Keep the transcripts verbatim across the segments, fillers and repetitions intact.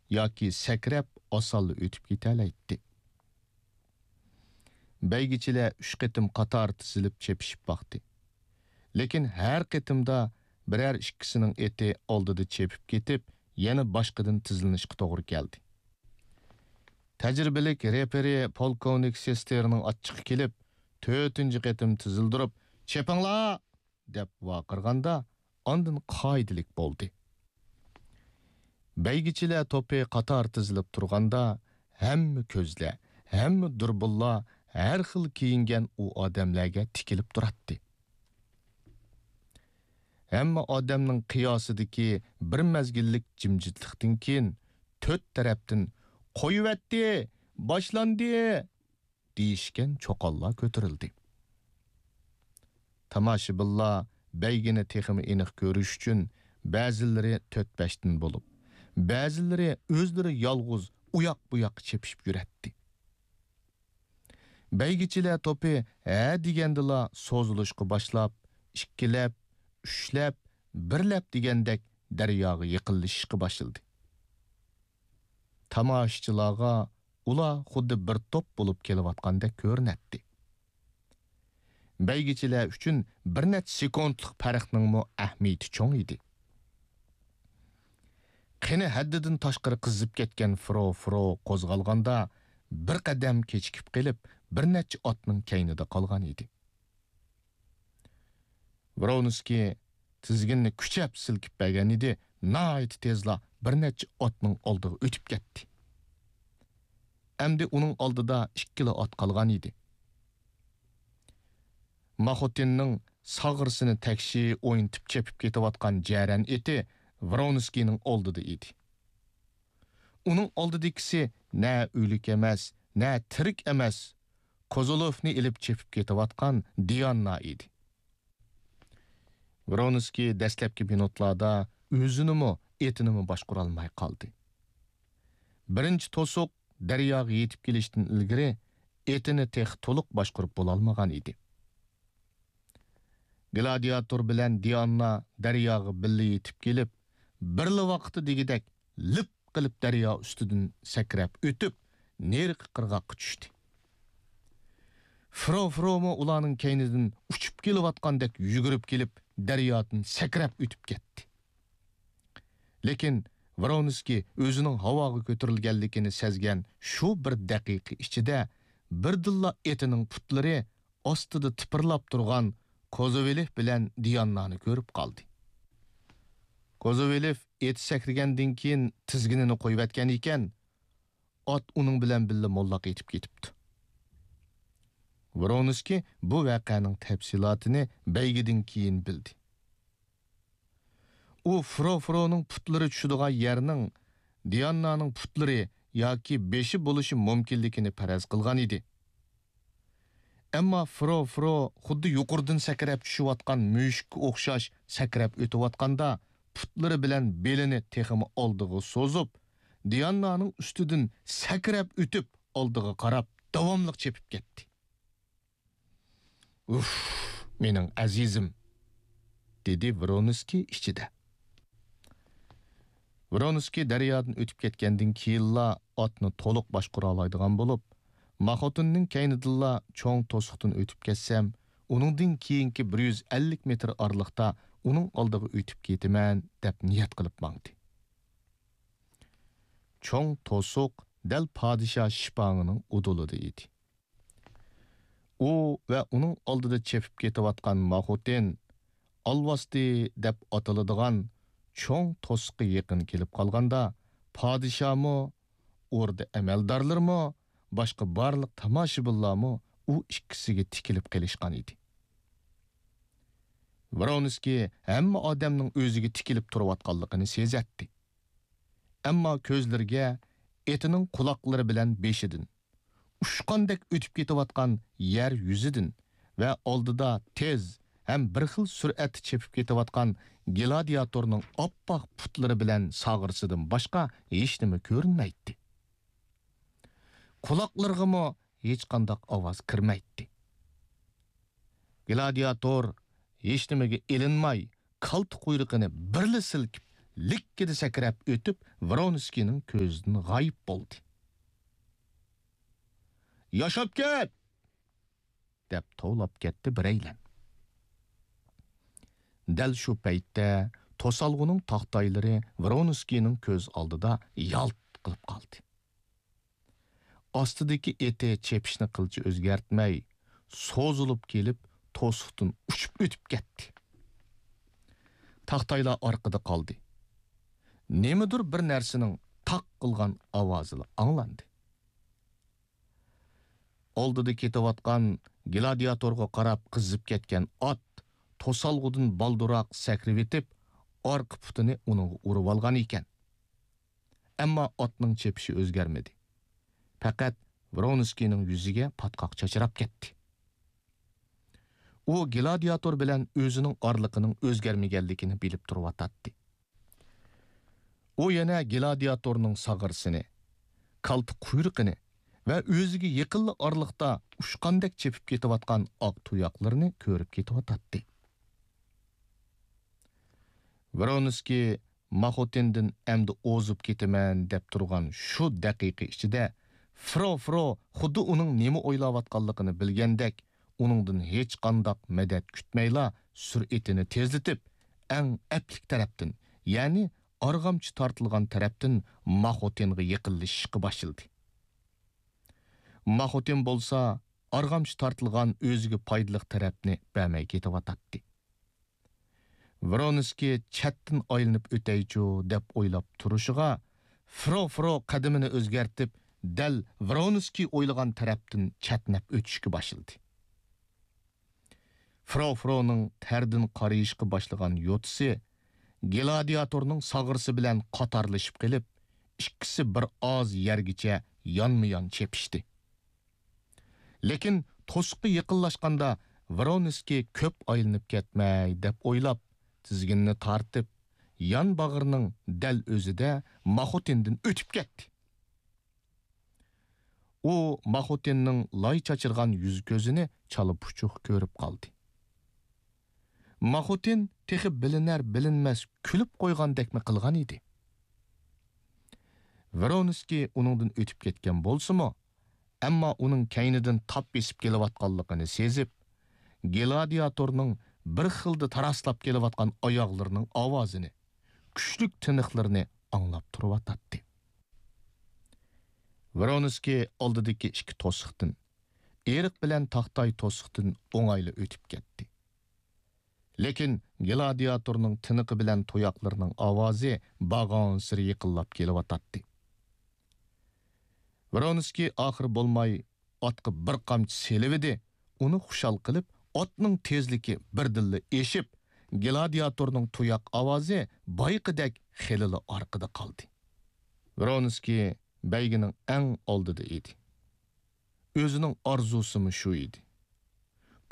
ياكى سەكرەپ ئاسانلا ئۆتۈپ كېتەلەيتتى. بەيگىچىلەر ئۈچ قېتىم قاتار تىزىلىپ چېپىشىپ باقتى. لېكىن ھەر قېتىمدا بىرەر ئىككىسىنىڭ ئېتى ئالدىدا چېپىپ كېتىپ، يەنە باشقىدىن تىزىلىنىشقا توغرا كەلدى. تەجرىبىلىك رېپېرى پولكوۋنىك سېستېرنىڭ ئاچچىقى كېلىپ، تۆتىنچى قېتىم تىزىلدۇرۇپ، «چېپىڭلار!» دەپ ۋارقىرىغاندا، ئاندىن قائىدىلىك بولدى. بەيگىچىلەر توپى قاتار تىزىلىپ تۇرغاندا، ھەممە كۆزلەر، ھەممە دۇربۇنلار ھەر خىل كىيىنگەن ئۇ ئادەملەرگە تىكىلىپ تۇراتتى. ھەممە ئادەمنىڭ قىياسىدىكى بىر مەزگىللىك جىمجىتلىقتىن كېيىن، تۆت تەرەپتىن «قويۇۋەتتى! باشلاندى!» دېيىشكەن چوقانلار كۆتۈرۈلدى. تاماشىبىنلار بەيگىنى تېخىمۇ ئېنىق كۆرۈش ئۈچۈن، بەزىلىرى تۆت-بەشتىن بولۇپ، بەزىلىرى ئۆزلىرى يالغۇز ئۇياق-بۇياققا چېپىشىپ يۈرەتتى. بەيگىچىلەر توپى ھە دېگەندىلا سوزۇلۇشقا باشلاپ، ئىككىلەپ، ئۈچلەپ، بىرلەپ دېگەندەك دەرياغا يېقىنلىشىشقا باشلىدى. تاماشىچىلارغا ئۇلار خۇددى بىر توپ بولۇپ كېلىۋاتقاندەك كۆرۈنەتتى. بەيگىچىلەر ئۈچۈن بىر نەچچە سېكۇنتلۇق پەرقنىڭمۇ ئەھمىيىتى چوڭ ئىدى. قېنى ھەددىدىن تاشقىرى قىزىپ كەتكەن فرو-فرو قوزغالغاندا، بىر قەدەم كېچىكىپ قېلىپ، بىر نەچچە ئاتنىڭ كەينىدە قالغان ئىدى. ۋرونسكىي تىزگىننى كۈچەپ سىلكىپ بەرگەن ئىدى، ناھايىتى تېزلا بىر نەچچە ئاتنىڭ ئالدىغا ئۆتۈپ كەتتى. ئەمدى ئۇنىڭ ئالدىدا ئىككىلا ئات قالغان ئىدى. ماخوتىننىڭ ساغرىسىنى تەكشى ئوينىتىپ چېپىپ كېتىۋاتقان جەرەن ئېتى ۋرونسكىينىڭ ئالدىدا ئىدى. ئۇنىڭ ئالدىدىكىسى نە ئۆلۈك ئەمەس، نە تىرىك ئەمەس، كوزولوفنى ئېلىپ چېپىپ كېتىۋاتقان دىئاننا ئىدى. ۋرونسكىي دەسلەپكى مىنۇتلاردا ئۆزىنىمۇ، ئېتىنىمۇ باشقۇرالماي قالدى. بىرىنچى توسۇق دەرياغا يېتىپ كېلىشتىن ئىلگىرى ئېتىنى تېخى تولۇق باشقۇرۇپ بولالمىغان ئىدى. گلادىياتور بىلەن دىئاننا دەرياغا بىللە يېتىپ كېلىپ، بىرلا ۋاقىتتا دېگۈدەك لىپ قىلىپ دەريا ئۈستىدىن سەكرەپ ئۆتۈپ، نېرىقى قىرغاققا چۈشتى. فرو-فرومۇ ئۇلارنىڭ كەينىدىن ئۇچۇپ كېلىۋاتقاندەك يۈگۈرۈپ كېلىپ، دەريادىن سەكرەپ ئۆتۈپ كەتتى. لېكىن ۋرونسكىي ئۆزىنىڭ ھاۋاغا كۆتۈرۈلگەنلىكىنى سەزگەن شۇ بىر دەقىقە ئىچىدە بىردىنلا ئېتىنىڭ پۇتلىرى ئاستىدا تىپىرلاپ تۇرغان كوزوۋېلېف بىلەن دىئاننانى كۆرۈپ قالدى. كوزوۋېلېف ئېتى سەكرىگەندىن كېيىن تىزگىنىنى قويۇۋەتكەن ئىكەن، ئات ئۇنىڭ بىلەن بىللە موللاق ئېتىپ كېتىپتۇ. ۋرونسكىي بۇ ۋەقەنىڭ تەپسىلاتىنى بەيگىدىن كېيىن بىلدى. ئۇ فرو-فرونىڭ پۇتلىرى چۈشىدىغان يەرنىڭ دىئاننانىڭ پۇتلىرى ياكى بېشى بولۇشى مۇمكىنلىكىنى پەرەز قىلغان ئىدى. ئەمما فرو-فرو خۇددى يۇقىرىدىن سەكرەپ چۈشۈۋاتقان مۈشۈككە ئوخشاش سەكرەپ ئۆتۈۋاتقاندا، پۇتلىرى بىلەن بېلىنى تېخىمۇ ئالدىغا سوزۇپ، دىئاننانىڭ ئۈستىدىن سەكرەپ ئۆتۈپ، ئالدىغا قاراپ داۋاملىق چېپىپ كەتتى. «ئۇف، مېنىڭ ئەزىزىم!» دېدى ۋرونسكىي ئىچىدە. ۋرونسكىي دەريادىن ئۆتۈپ كەتكەندىن كېيىنلا ئاتنى تولۇق باشقۇرالايدىغان بولۇپ، ماخوتىننىڭ كەينىدىنلا چوڭ توسۇقتىن ئۆتۈپ كەتسەم، ئۇنىڭدىن كېيىنكى بىر يۈز ئەللىك مېتىر ئارىلىقتا ئۇنىڭ ئالدىغا ئۆتۈپ كېتىمەن، دەپ نىيەت قىلىپ ماڭدى. چوڭ توسۇق دەل پادىشاھ شىپاڭىنىڭ ئۇدۇلىدا ئىدى. ئۇ ۋە ئۇنىڭ ئالدىدا چېپىپ كېتىۋاتقان ماخوتىن ئالۋاستى دەپ ئاتىلىدىغان چوڭ توسۇققا يېقىن كېلىپ قالغاندا، پادىشاھمۇ، ئوردا ئەمەلدارلىرىمۇ، باشقا بارلىق تاماشىبىنلارمۇ ئۇ ئىككىسىگە تىكىلىپ قېلىشقان ئىدى. ۋرونسكىي ھەممە ئادەمنىڭ ئۆزىگە تىكىلىپ تۇرۇۋاتقانلىقىنى سېزەتتى. ئەمما كۆزلىرىگە ئېتىنىڭ قۇلاقلىرى بىلەن بېشىدىن، ئۇچقاندەك ئۆتۈپ كېتىۋاتقان يەر يۈزىدىن ۋە ئالدىدا تېز ھەم بىر خىل سۈرئەتتە چېپىپ كېتىۋاتقان گلادىياتورنىڭ ئاپئاق پۇتلىرى بىلەن ساغرىسىدىن باشقا ھېچنېمە كۆرۈنمەيتتى. قۇلاقلىرىغىمۇ ھېچقانداق ئاۋاز كىرمەيتتى. گلادىياتور ھېچنېمىگە ئېلىنماي، كالتا قۇيرۇقىنى بىرلا سىلكىپ، لىككىدە سەكرەپ ئۆتۈپ، ۋرونسكىينىڭ كۆزىدىن غايىب بولدى. «ياشاپ كەت!» دەپ توۋلاپ كەتتى بىرەيلەن. دەل شۇ پەيتتە توسالغۇنىڭ تاختايلىرى ۋرونسكىينىڭ كۆز ئالدىدا يالت قىلىپ قالدى. ئاستىدىكى ئېتى چېپىشنى قىلچە ئۆزگەرتمەي، سوزۇلۇپ كېلىپ، توسۇقتىن ئۇچۇپ ئۆتۈپ كەتتى. تاختايلار ئارقىدا قالدى. نېمىدۇر بىر نەرسىنىڭ تاق قىلغان ئاۋازىلا ئاڭلاندى. ئالدىدا كېتىۋاتقان گلادىياتورغا قاراپ قىزىپ كەتكەن ئات توسالغۇدىن بالدۇرراق سەكرىۋېتىپ، ئارقا پۇتىنى ئۇنىڭغا ئۇرۇۋالغان ئىكەن. ئەمما ئاتنىڭ چېپىشى ئۆزگەرمىدى. پەقەت ۋرونسكىينىڭ يۈزىگە پاتقاق چاچراپ كەتتى. ئۇ گلادىياتور بىلەن ئۆزىنىڭ ئارىلىقىنىڭ ئۆزگەرمىگەنلىكىنى بىلىپ تۇرۇۋاتاتتى. ئۇ يەنە گلادىياتورنىڭ ساغرىسىنى، كالتە قۇيرۇقىنى ۋە ئۆزىگە يېقىنلا ئارىلىقتا ئۇچقاندەك چېپىپ كېتىۋاتقان ئاق تۇياقلىرىنى كۆرۈپ كېتىۋاتاتتى. ۋرونسكىي ماخوتىندىن ئەمدى ئوزۇپ كېتىمەن دەپ تۇرغان شۇ دەقىقە ئىچىدە، فرو فرو خۇددى ئۇنىڭ نېمە ئويلاۋاتقانلىقىنى بىلگەندەك، ئۇنىڭدىن ھېچقانداق مەدەت كۈتمەيلا، سۈرئىتىنى تېزلىتىپ، ئەڭ ئەپلىك تەرەپتىن، يەنى ئارغامچا تارتىلغان تەرەپتىن ماخوتىنغا يېقىنلىشىشقا باشلىدى. ماخوتىن بولسا ئارغامچا تارتىلغان ئۆزىگە پايدىلىق تەرەپنى بەرمەي كېتىۋاتاتتى. ۋرونسكىي چەتتىن ئايلىنىپ ئۆتەيچۇ دەپ ئويلاپ تۇرۇشىغا، فرو فرو قەدىمىنى ئۆزگەرتىپ، دەل ۋرونسكىي ئويلىغان تەرەپتىن چەتنەپ ئۆتۈشكە باشلىدى. فرو فرونىڭ تەردىن قارىيىشقا باشلىغان يوتىسى گلادىياتورنىڭ ساغرىسى بىلەن قاتارلىشىپ قېلىپ، ئىككىسى بىر ئاز يەرگىچە يانمۇ يان چېپىشتى. لېكىن توسۇققا يېقىنلاشقاندا، ۋرونسكىي كۆپ ئايلىنىپ كەتمەي دەپ ئويلاپ، تىزگىنىنى تارتىپ، يان باغرىنىڭ دەل ئۆزىدە ماخوتىندىن ئۆتۈپ كەتتى. ئۇ ماخوتىننىڭ لاي چاچرىغان يۈز-كۆزىنى چالا پۇچۇق كۆرۈپ قالدى. ماخوتىن تېخى بىلىنەر-بىلىنمەس كۈلۈپ قويغاندەكمۇ قىلغان ئىدى. ۋرونسكىي ئۇنىڭدىن ئۆتۈپ كەتكەن بولسىمۇ، ئەمما ئۇنىڭ كەينىدىن تاپ بېسىپ كېلىۋاتقانلىقىنى سېزىپ، گلادىياتورنىڭ بىر خىلدا تاراسلاپ كېلىۋاتقان ئاياغلىرىنىڭ ئاۋازىنى، كۈچلۈك تىنىقلىرىنى ئاڭلاپ تۇرۇۋاتاتتى. ۋرونسكىي ئالدىدىكى ئىككى توسۇقتىن، ئېرىق بىلەن تاختاي توسۇقتىن ئوڭايلا ئۆتۈپ كەتتى. لېكىن گلادىياتورنىڭ تىنىقى بىلەن تۇياقلىرىنىڭ ئاۋازى بارغانسېرى يېقىنلاپ كېلىۋاتاتتى. ۋرونسكىي ئاخىرى بولماي ئاتقا بىر قامچا سېلىۋىدى، ئۇنى خۇشال قىلىپ، ئاتنىڭ تېزلىكى بىردىنلا ئېشىپ، گلادىياتورنىڭ تۇياق ئاۋازى بايىقىدەك خېلىلا ئارقىدا قالدى. ۋرونسكىي بەيگىنىڭ ئەڭ ئالدىدا ئىدى. ئۆزىنىڭ ئارزۇسىمۇ شۇ ئىدى.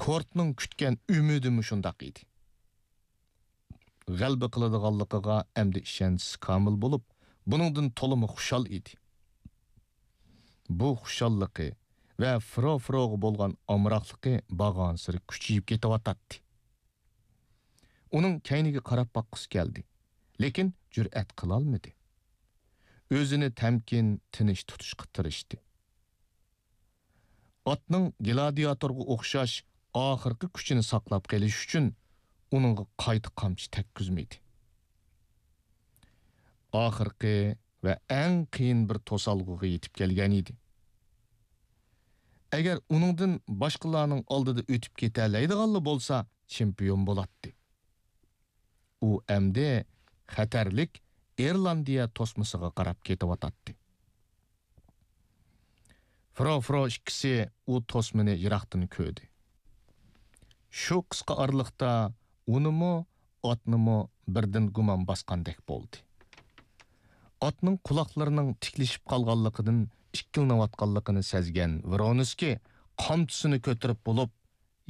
كورتنىڭ كۈتكەن ئۈمىدىمۇ شۇنداق ئىدى. غەلىبە قىلىدىغانلىقىغا ئەمدى ئىشەنچىسى كامىل بولۇپ، بۇنىڭدىن تولىمۇ خۇشال ئىدى. بۇ خۇشاللىقى ۋە فرو فروغا بولغان ئامراقلىقى بارغانسېرى كۈچىيىپ كېتىۋاتاتتى. ئۇنىڭ كەينىگە قاراپ باققۇسى كەلدى، لېكىن جۈرئەت قىلالمىدى. ئۆزىنى تەمكىن، تىنچ تۇتۇشقا تىرىشتى. ئاتنىڭ گلادىياتورغا ئوخشاش ئاخىرقى كۈچىنى ساقلاپ قېلىش ئۈچۈن ئۇنىڭغا قايتا قامچا تەگكۈزمىدى. ئاخىرقى ۋە ئەڭ قىيىن بىر توسالغۇغا يېتىپ كەلگەن ئىدى. ئەگەر ئۇنىڭدىن باشقىلارنىڭ ئالدىدا ئۆتۈپ كېتەلەيدىغانلا بولسا، چېمپىيون بولاتتى. ئۇ ئەمدى خەتەرلىك ئىرلاندىيە توسمىسىغا قاراپ كېتىۋاتاتتى. فرو-فرو ئىككىسى ئۇ توسمىنى يىراقتىن كۆردى. شۇ قىسقا ئارىلىقتا ئۇنىمۇ، ئاتنىمۇ بىردىن گۇمان باسقاندەك بولدى. ئاتنىڭ قۇلاقلىرىنىڭ تىكلىشىپ قالغانلىقىدىن ئىككىلىنىۋاتقانلىقىنى سەزگەن ۋرونسكىي قامچىسىنى كۆتۈرۈپ بولۇپ،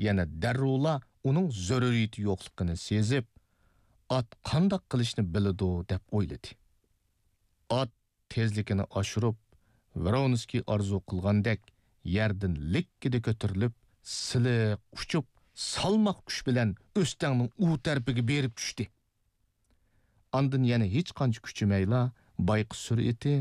يەنە دەررۇلا ئۇنىڭ زۆرۈرىيىتى يوقلۇقىنى سېزىپ، ئات قانداق قىلىشنى بىلىدۇ دەپ ئويلىدى. ئات تېزلىكىنى ئاشۇرۇپ، ۋرونسكىي ئارزۇ قىلغاندەك يەردىن لىككىدە كۆتۈرۈلۈپ، سىلىق ئۇچۇپ، سالماق كۈچ بىلەن ئۆستەڭنىڭ ئۇ تەرىپىگە بېرىپ چۈشتى. ئاندىن يەنە ھېچقانچە كۈچىمەيلا، بايقۇش سۈرئىتى